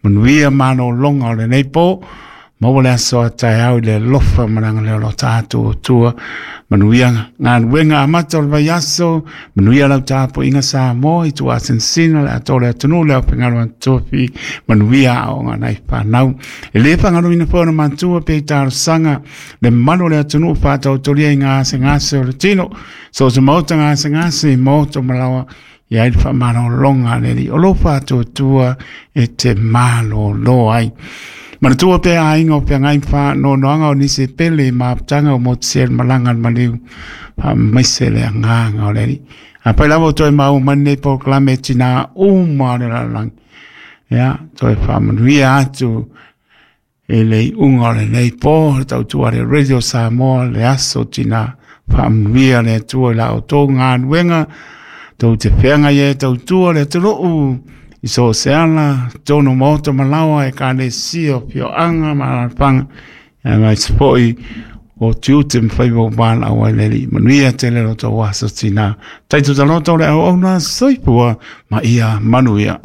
Manuia malologa o lenei po, maua le aso a taeao i le alofa ma le agalelei o lo tatou Atua. Manuia galuega amata o le vaiaso, manuia lau tapuaiga Samoa i tuasinasina le atoa o le atunuu, le aufaigaluega tofi, manuia aoga a nai fanau. E le faagaloina foi ona matua pe i talosaga le mamalu o le atunuu faataotolia i gasegase o le tino, so o se maota gasegase, maota malaoa, i ai le faamalologa a le Alii o lo o faatuatua e te malolo ai. Manatua pea aiga o feagai ma faanoanoaga o nisi e pele i mafutaga o motusia i le malaga a le maliu, faamaise le agaga o le Alii. Afai lava ua toe maua mai lenei polokalame e tina uma o le lalolagi, ia, toe faamanuia atu i le iuga o lenei po, le tautua a le Radio Samoa, le aso tina. Faamanuia le Atua i la outou galuega, tou te feagai ai e tautua le atunuu i so o se ala, totonu o maota ma laoa, ekalesia, afioaga ma alaalafaga, aemaise foi o tiute ma faiva ua valaau ai le Alii. Manuia tele lo outou aso tina. Taito taloto le auauna, soifua ma ia manuia.